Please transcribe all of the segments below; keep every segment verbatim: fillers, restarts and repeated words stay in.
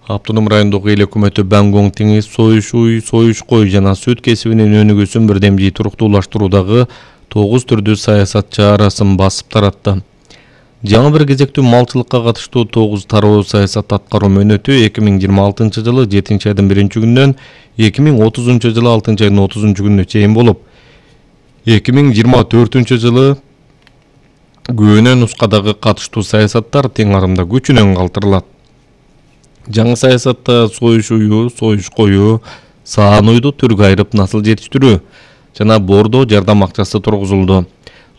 Автоном райондогу эл өкмөтү Бангонг теңиз, союш уй, союш кой жана сүт кесибинин өнүгүүсүн бирдемжий туруктуулаштыруудагы тогуз түрдүү саясат чарасын басып таратты. Жаңы бир кезектүү малчылыкка катыштуу тогуз тароо саясат аткаруу мөөнөтү эки миң жыйырма алтынчы жылы жетинчи айдын биринчи күнүнөн эки миң отузунчу жылы алтынчы айдын отузунчу күнүнө чейин болуп, эки миң жыйырма төртүнчү жылы көөнө нускадагы катыштуу саясаттар тең арымда күчүнөн калтырылат. Жаңы саясатта союш уйу, союш кою, саан уйду түргө айырып насыл жетиштирүү жана бордо жардам акчасы тургузулду.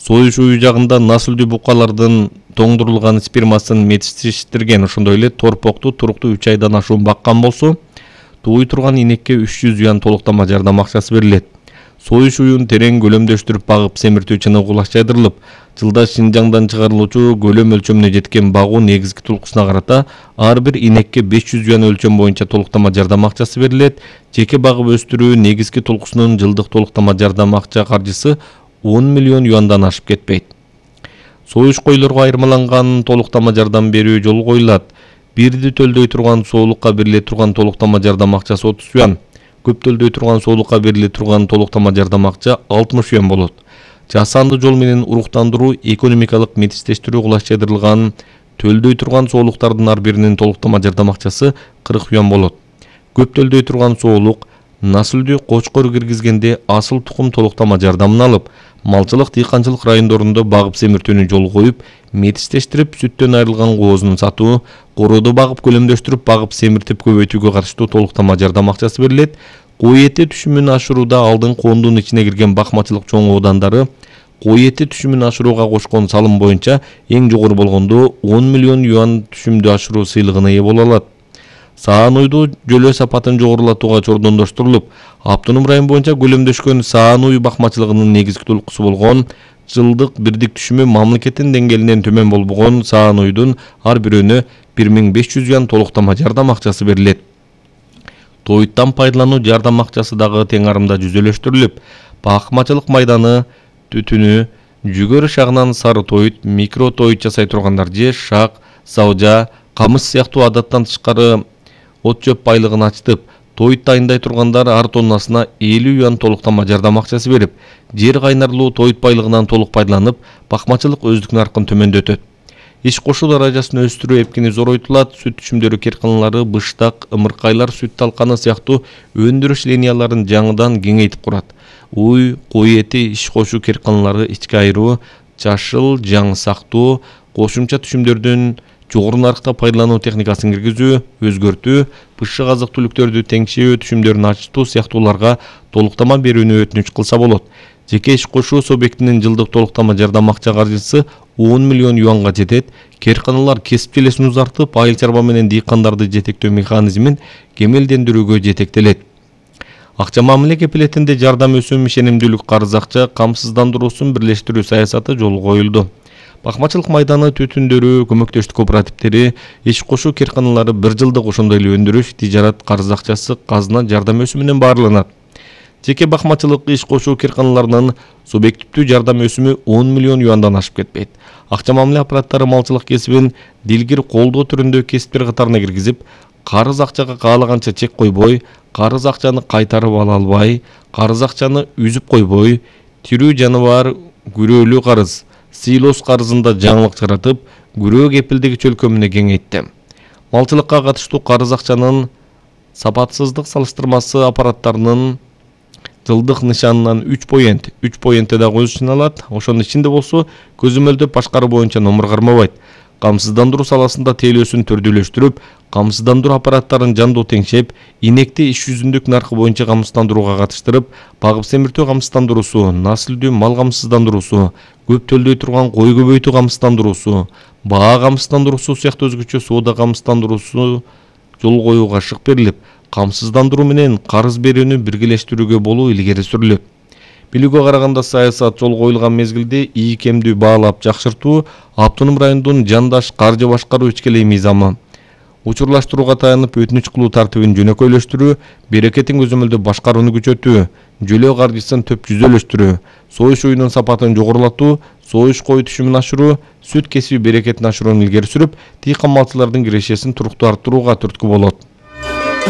Союш уйу жагында насылдуу букалардын тоңдурулган спермасын метиштештирген, ошондой эле торпокту туруктуу үч айдан ашуун баккан болсо, тууй турган инекке үч жүз юан толуктама жардам акчасы берилет. Союш уюн терең көлөмдөштүрүп багып семиртүү чыныгуулаш жайдырылып, жылда Шинжаңдан чыгарылуучу көлөм өлчөмүнө жеткен багуу негизги толкусуна карата ар бир инекке беш жүз юан өлчөм боюнча толуктама жардам акчасы берилет. Жеке багып өстүрүү негизги толкусунун жылдык толуктама жардам акча каржысы он миллион юандан ашып кетпейт. Союш койлорго айырмаланган толуктама жардам берүү жолу коюлат. Бирди төлдөй турган соолукка бериле турган толуктама жардам акчасы отуз юан. Көп төлдөй турган соолукка бериле турган толуктама жардам акча алтымыш юан болот. Жасанды жол менен уруктандыруу экономикалык метиштештирүү кулаш жайдырылган төлдөй турган соолуктардын ар биринин толуктама жардам акчасы кырк юан болот. Көп төлдөй турган соолук насылдуу кочкор киргизгенде асыл тукум толуктама жардамын алып, малчылык дыйканчылык райондорунда багып семиртүүнү жолу коюп, метиштештирип сүттөн айрылган коозун сатуу, корооду багып көлөмдөштүрүп, багып семиртип көбөйтүүгө катыштуу толуктама жардам акчасы берилет. Кой эти түшүмүн ашырууда алдын коомдун ичине кирген бакмачылык чоң оодандары кой эти түшүмүн ашырууга кошкон салым боюнча эң жогору болгондо он миллион юан түшүмдү ашыруу сыйлыгына ээ боло алат. Саан уйду жөлөө сапатын жогорулатууга чордондоштурулуп, автоном район боюнча көлөмдөшкөн саан уй бакмачылыгынын негизги толкусу болгон жылдык бирдик түшүмү мамлекеттин деңгээлинен төмөн болбогон саан уйдун ар бирөөнө бир миң беш жүз юан толуктама жардам акчасы берилет. Тоюттан пайдалануу жардам акчасы дагы тең арымда жүзөлөштүрүлүп, бакмачылык майданы, түтүнү, жүгөрү шагынан сары тоют, микро тоют жасай тургандар же шак, саужа, камыш сыяктуу адаттан тышкары от чөп байлыгын ачтып, тоют дайындай тургандар ар тоннасына элүү юан толуктама жардам акчасы берип, жер кайнарлуу тоют байлыгынан толук пайдаланып, бакмачылык өздүк наркын төмөндөтөт. Иш кошуу даражасын өстүрүү эпкини зоройтулат. Сүт түшүмдөрү керканалары, быштак, ымыркайлар, сүт талканы сыяктуу өндүрүш линияларын жаңыдан кеңейтип курат. Уй, кой эти, иш кошуу керканалары ичке айыруу, жашыл, жаңы сактоо, кошумча түшүмдөрдүн жогору наркта пайдалануу техникасын киргизүү, өзгөртүү, бышык азык түлүктөрдү теңшөө түшүмдөрүн ачтуу сыяктууларга толуктама берүүнү өтүнүч кылса болот. Жеке иш кошуу субъектинин жылдык толуктама жардам акча каржысы он миллион юанга жетет. Керканалар кесип желесин узартып, айыл чарба менен дыйкандарды жетектөө механизмин кемелдендирүүгө жетектелет. Акча мамиле кепилетинде жардам өсүм, ишенимдүүлүк карыз акча камсыздандыруусун бирлештирүү саясаты жолу коюлду. Бакмачылык майданы, түтүндөрү, көмөктөштүк кооперативдери, иш кошуу керканалары бир жылдык, ошондой эле өндүрүш, тижарат карыз акчасы казына жардам өсүмүнөн баарланат. Жеке бакмачылык иш кошуу керканаларынын субъективдүү жардам өсүмү он миллион юандан ашып кетпейт. Акча мамиле аппараттары малчылык кесибин дилгир колдоо түрүндө кесиптер катарына киргизип, карыз акчага каалаганча чек койбой, карыз акчаны кайтарып ала албай, карыз акчаны үзүп койбой, тирүү жаныбар күрөөлүү карыз, сыйлоос карызында жаңылык жаратып, күрөө кепилдиги чөлкөмүнө кеңейтти. Малчылыкка катыштуу карыз акчанын сапатсыздык салыштырмасы аппараттарынын жылдык нышанынан үч поент, үч поентте да көз чыналат. Ошонун ичинде болсо, көзөмөлдөп башкаруу боюнча номер кармабайт. Камсыздандыруу саласында тейлөөсүн түрдүүлөштүрүп, камсыздандыруу аппараттарын жандуу теңшеп, инекти иш жүзүндүк наркы боюнча камсыздандырууга катыштырып, багып семиртүү камсыздандыруусу, насылдуу мал камсыздандыруусу, көп төлдөй турган кой көбөйтүү камсыздандыруусу, баа камсыздандыруусу сыяктуу өзгөчө соода камсыздандыруусу жол коюуга шык берилип, камсыздандыруу менен карыз берүүнү биргелештирүүгө болуу илгери сүрүлөт. Билүүгө караганда саясат жол коюлган мезгилде ийкемдүү баалап жакшыртуу, автоном райондун жандаш каржы башкаруу ичкелей мыйзамы, учурлаштырууга таянып өтүнүч кылуу тартибин жөнөкөйлөштүрүү, берекетин көзөмөлдөп башкарууну күчөтүү, жөлөө каржысын төп жүзөлөштүрүү, союш уюнун сапатын жогорулатуу, союш кой түшүмүн ашыруу, сүт кесиби берекетин ашырууну илгери сүрүп, дыйкан малчылардын кирешесин туруктуу арттырууга түрткү болот.